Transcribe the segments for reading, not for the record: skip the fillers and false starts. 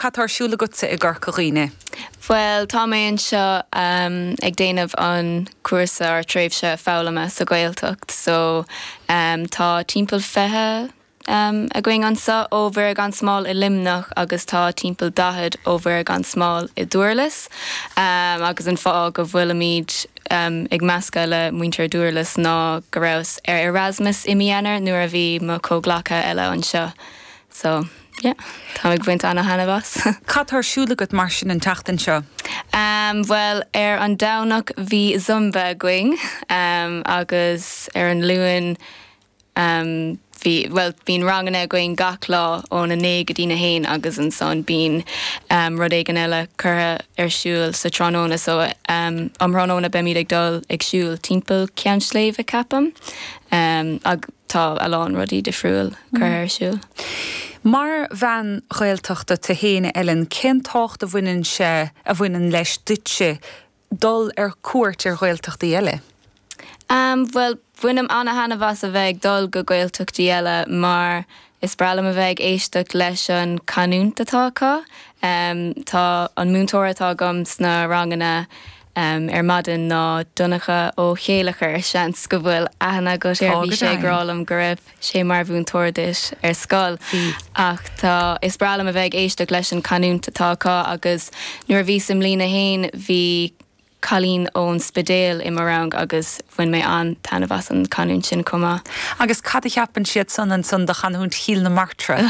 Cad tá ar siúl agatsa i gCorca Dhuibhne? Bhuel, tá mé anseo ag déanamh an cúrsa or tréimhse foghlama sa Ghaeltacht so tá timpeall 20 againn anseo ó Mhuire Gan Smál i Luimneach agus tá timpeall 40 ó Mhuire Gan Smál i Dúrlas agus an fáth go bhfuilimid ag meascadh le muintir Dúrlas ná go rabhas ar Erasmus i mí Eanáir nuair a bhí mo chomhghleacaithe eile anseo so. Yeah, táim ag baint ana-thaitneamh as. Cad tá ar siúl agat mar sin an tseachtain seo? Ehm, bhuel, ar an Domhnach bhí Zumba againn, ehm, agus ar an Luan, ehm, bhí, bhuel, bíonn ranganna againn gach lá óna naoi go dtí na haon agus ansan bíonn, ehm, rud éigin eile curtha ar siúl sa tráthnóna so, ehm, um thráthnóna beimid ag dul ag siúl timpeall Ceann Sléibhe, ceapaim, ehm, ag. Tá a lán rudaí difriúil curtha ar siúl. Mar bhean Ghaeltachta tú féin, a Ellen, cén tábhacht a bhaineann sé, a bhaineann leis duitse dul ar cuairt ar Ghaeltachtaí eile? Bhuel, bainim ana-thaitneamh as a bheith ag dul go Gaeltachtaí eile mar is breá liom a bheith ag éisteacht leis an canúint atá acu. Tá an múinteoir atá agam sna ranganna ar maidin ná Donncha Ó Céileachair, seans go bhfuil aithne agat air, bhí sé ag rá liom go raibh sé mar mhúinteoir duit ar scoil. Ach tá, is breá liom a bheith ag éisteacht leis an canúint atá acu agus nuair a bhíos i mbliain a haon bhí cailín ón Spidéal i mo rang agus bhain mé an-taitneamh as an canúint sin chomh maith. Agus cad a cheapann siad san ansan de chanúint Chill na Martra?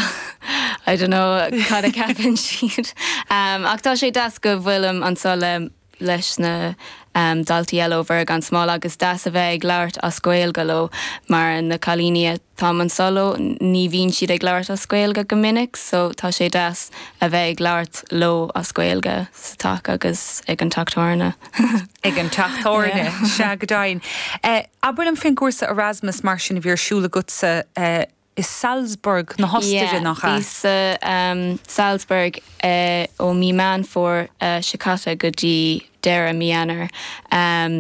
I don't know cad a cheapann siad. Ach tá sé deas go bhfuilim anseo le leis na daltaí eile ó Mhuire Gan Smál agus deas a bheith ag labhairt as Gaeilge leo mar na cailíní atáim anseo leo ní bhíonn siad ag labhairt as Gaeilge go minic so tá sé deas a bheith ag labhairt leo as Gaeilge sa teach agus ag an teach tábhairne. Ag an teach tábhairne, sea go deimhin. Abair liom faoin gcúrsa Erasmus mar sin a bhí ar siúl agatsa i Salzburg na hOstaire, nach ea? Yeah, bhíos i Salzburg ó mí Meán Fómhair seo caite go dtí deireadh mí Eanáir.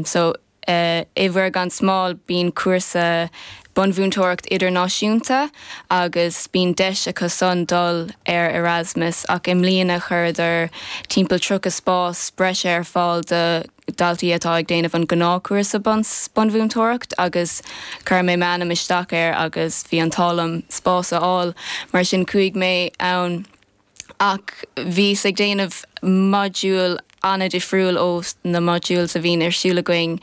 So i Mhuire Gan Smál bíonn cúrsa bunmhúinteoireacht idirnáisiúnta agus bíonn deis acu san dul ar Erasmus ach i mbliana chuireadar timpeall 30 spás breise ar fáil do daltaí atá ag déanamh an gnáthchúrsa bunmhúinteoireacht agus chuir mé m'ainm isteach air agus bhí an t-ádh liom spás a fháil mar sin chuaigh mé ann ach bhíos ag déanamh modúl an-difriúil ó na modules a bhíonn ar siúl againn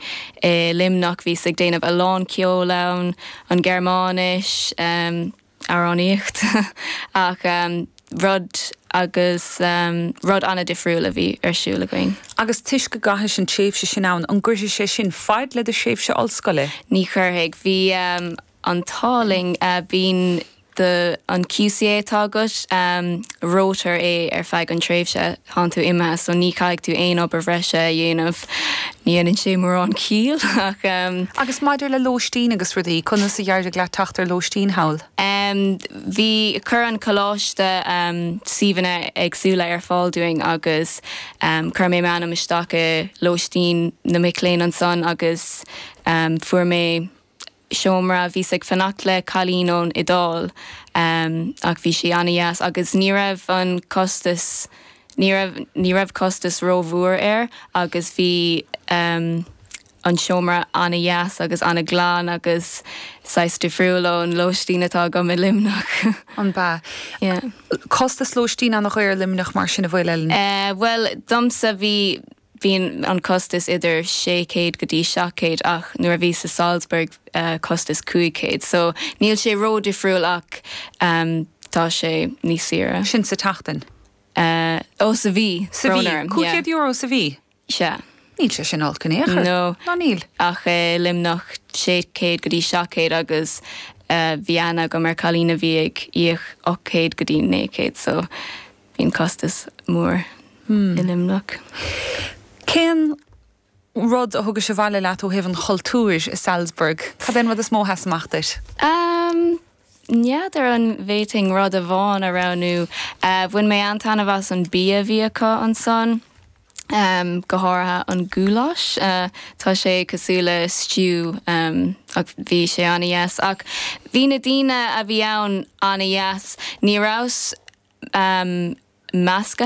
i Luimneach, bhíos ag déanamh a lán ceoil ann, an Ghearmáinis, amhránaíocht ach rud agus rud an-difriúil a bhí ar siúl againn. Agus toisc go gcaithis an tréimhse sin ann, an gcuirfidh sé sin faid le do thréimhse ollscoile? Ní chuirfidh. Bhí an t-ádh linn. Bíonn do an QCA atá agat, reoitear é ar feadh an tréimhse tánn tú imithe so ní chaithfidh tú aon obair bhreise a dhéanamh. Ní dhéanann sé mórán ciall ach. Agus maidir le lóistín agus rudaí, conas a d'éirigh leat teacht ar lóistín thall? Bhí, chuir an coláiste suíomhanna éagsúla ar fáil dúinn agus chuir mé m'ainm isteach i lóistín na mic léinn ansan agus fuair mé seomra. Bhíos ag fanacht le cailín ón Iodáil ach bhí sí ana-dheas agus ní raibh an costas, ní raibh, ní raibh costas rómhór air agus bhí an seomra ana-dheas agus ana-ghlan agus saghas difriúil ón lóistín atá agam i Luimneach. An b'ea? Yeah. Costas lóistín ana-dhaor i Luimneach mar sin an bhfuil, Ellen? Bhuel, domsa bhí, Bíonn an costas idir 600 go dtí 700 ach nuair a bhíos i Salzburg costas 500 so níl sé ró-difriúil ach tá sé níos saoire. Sin sa tseachtain? Ó sa mhí. Sa mhí? €500 sa mhí? Sea. Níl sé sin olc in aon chor. No. Ná níl. Ach i Luimneach 600 go dtí 700 agus bhí aithne agam ar cailín a bhí ag íoc 800 go dtí 900 so Bíonn costas mór i Luimneach. Cén rud a thugais abhaile leat ó thaobh an chultúir i Salzburg? Cad é an rud is mó a sheas amach duit? N'fheadar an bhféadfainn rud amháin a roghnú. Bhain mé an-taitneamh as an bia a bhí acu ansan. go háirithe an goulash. Tá sé cosúil le stew ach bhí sé an-dheas. Ach bhí na daoine a bhí ann an-dheas. Ní rabhas. Measctha.